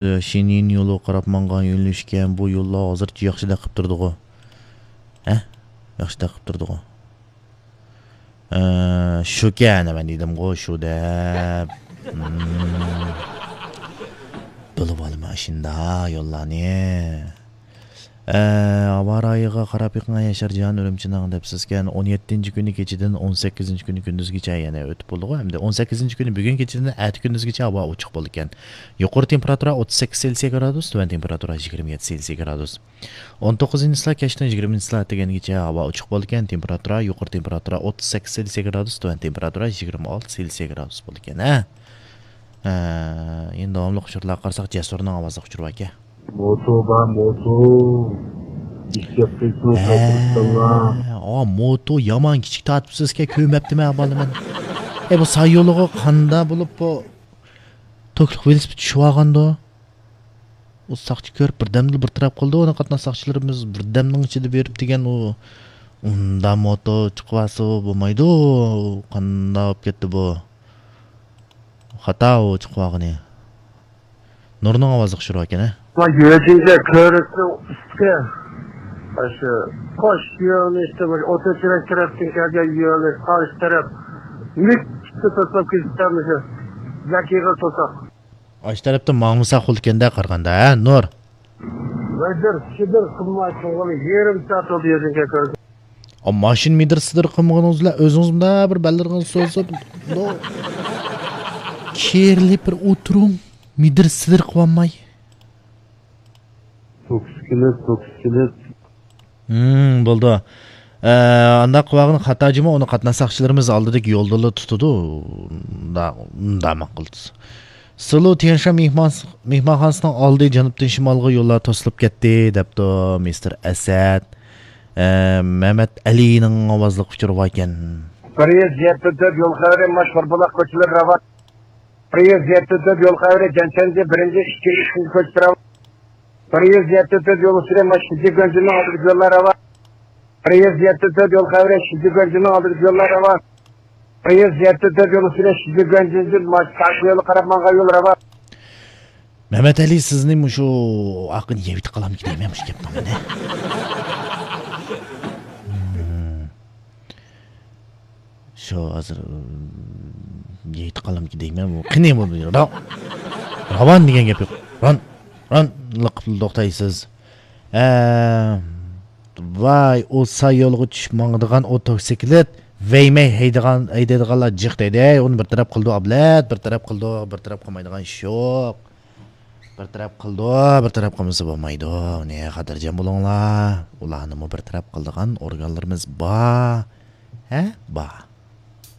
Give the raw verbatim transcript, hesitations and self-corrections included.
شېنيىن يولىغا قاراپ ماڭغان يۆنىلىشكەن، بۇ يوللار ھازىرچە ياخشىدەك قىپ تۇردىغۇ. ھە؟ ياخشىدەك قىپ تۇردىغۇ. ئە، شۇكەن، مەن دېدىمغۇ، شۇ دەپ. ھىم. بىلىۋالىمەن ئاشۇنداق يوللارنى. ئە، ھاۋا رايىغا قاراپ بېقىڭ، ياشارجان ئۈرۈمچىنىڭ دەپسىزكەن. ئون يەتتىنچى كۈنى كېچىدىن ئون سەككىزىنچى كۈنى كۈندۈزگىچە يەنە ئۆتۈپ بولىدىغۇ. ئەمدى ئون سەككىزىنچى كۈنى بۈگۈن كېچىدىن ئەتە كۈندۈزگىچە ھاۋا ئوچۇق بولىدىكەن. يۇقىرى تېمپېراتۇرا ئوتتۇز سەككىز سېلسىيە گرادۇس، تۆۋەن تېمپېراتۇرا يىگىرمە يەتتە سېلسىيە گرادۇس. ئون توققۇزىنچى چىسلا كەچتىن يىگىرمىنچى چىسلا ئەتىگەنگىچە ھاۋا ئوچۇق بولىدىكەن. تېمپېراتۇرا، يۇقىرى تېمپېراتۇرا ئوتتۇز سەككىز سېلسىيە گرادۇس، تۆۋەن تېمپېراتۇرا يىگىرمە ئالتە سېلسىيە گرادۇس بولىدىكەن. ھە؟ ھە، يەنە داۋاملىق ئۇچۇرلارغا قارىساق، جەسۇرنىڭ ئاۋازلىق ئۇچۇرى باركەن. موتو بار، موتو. ئىشلەپ كەتسۇن، ھە، قاتنىشسۇنلار. ئا، موتو يامان كىچىك تارتىپسىزكەن، كۆرمەپتىمەن بالىمەن. ئە، بۇ ساي يولىغا قاندا بولۇپ بۇ توكلۇق ۋېلىسىپىت چۈشۈۋالغاندۇ؟ ئۇ ساقچى كۆرۈپ بىردەمدىلا بىر تەرەپ قىلدى، ئۇنى قاتناش ساقچىلىرىمىز بىردەمنىڭ ئىچىدە بېرىپ دېگەن ئۇ، ئۇندا موتو چىقىۋالسا بولمايدۇ، قانداق بولۇپ كەتتى بۇ؟ خاتا ئۇ چىقىۋالغىنى. نۇرنىڭ ئاۋازى خۇشرۇ ئىكەن، ھە؟ ما يۆجىنجە كۆۋرۈكنىڭ ئۈستى. ئاشۇ قوش يۆنىلىشتە بىر ئوتتۇرا تەرەپ تەرەپتىن كەلگەن يۆنىلىش قارشى تەرەپ مۈككە توساپ كېتىپتۇ مۇشۇ. زەكىغا توساق. ئاشۇ تەرەپتىن ماڭمىسا قۇلىكەندە قارىغاندا، ھە، نۇر؟ مىدىر سىدىر قىلماي تۇرغىلى يېرىم سائەت بولدى يۆجىنجە كۆۋرۈك. ئا، ماشىنا مىدىر سىدىر قىلمىغىنىڭىز بىلەن ئۆزىڭىز مۇنداق بىر بەللىرىڭىزنى سوزۇپ، نو-، كېرىلىپ بىر ئولتۇرۇڭ، مىدىر سىدىر قىلىۋالماي. توكسىكلىق، توكسىكلىق. ھىم، بولدى. ئە، ئانداق قىلىۋالغىنى خاتا جۇمۇ، ئۇنى قاتناش ساقچىلىرىمىز ئالدىدىكى يولدىلا تۇتىدۇ. ئۇنداق، ئۇنداق ماقۇل. سىلۇ تيەنشان مېھمان-، مېھمانخانىسىنىڭ ئالدى جەنۇبتىن شىمالغا يوللار توسۇلۇپ كەتتى، دەپتۇ مىستېر ئەسەت. ئە، مەمەت ئەلىنىڭ ئاۋازلىق ئۇچۇرى باركەن. بىر يۈز يەتتە تۆت يول خەۋىرى، ماش قۇربۇلاق كوچىلىرى راۋان. بىر يۈز يەتتە تۆت يول خەۋىرى، جەنچەنجى بىرىنچى، ئىككىنچى، ئۈچىنچى كوچا راۋان. بىر يۈز يەتتە تۆت يول ئۈستىدە ماش شىنجى گۆنجىنىڭ ئالدىدىكى يوللار راۋان. بىر يۈز يەتتە تۆت يول خەۋىرى، شىنجى گۆنجىنىڭ ئالدىدىكى يوللار راۋان. بىر يۈز يەتتە تۆت يول ئۈستىدە شىنجى گۆنجىدىن ماش تاش يولى قاراپ ماڭغان يول راۋان. مەمەت ئەلى، سىزنى مۇشۇ ئاقىنى يەۋېتىپ قالامدىكىن دەيمەن مۇشۇ گەپنىڭ مەنە. شۇ ھازىر، ئىم، يەۋېتىپ قالامدىكىن دەيمەن. بۇ قېنى بۇ را-، راۋان دېگەن گەپ يوق. ران، ران لىقىپ توختايسىز. ئە، ۋاي، ئۇ ساي يولغا چۈشۈپ ماڭىدىغان ئوتوسىكلىت ۋەيمەي ھەيدىغان، ھەيدەيدىغانلار جىق دەيدۇ. ئۇنى بىر تەرەپ قىلىدۇ، ئابلەت، بىر تەرەپ قىلىدۇ، بىر تەرەپ قىلمايدىغان ئىش يوق. بىر تەرەپ قىلىدۇ، بىر تەرەپ قىلمىسا بولمايدۇ. نېمە خاتىرجەم بولۇڭلار. ئۇلارنىمۇ بىر تەرەپ قىلىدىغان ئورگانلىرىمىز بار. ھە؟ بار.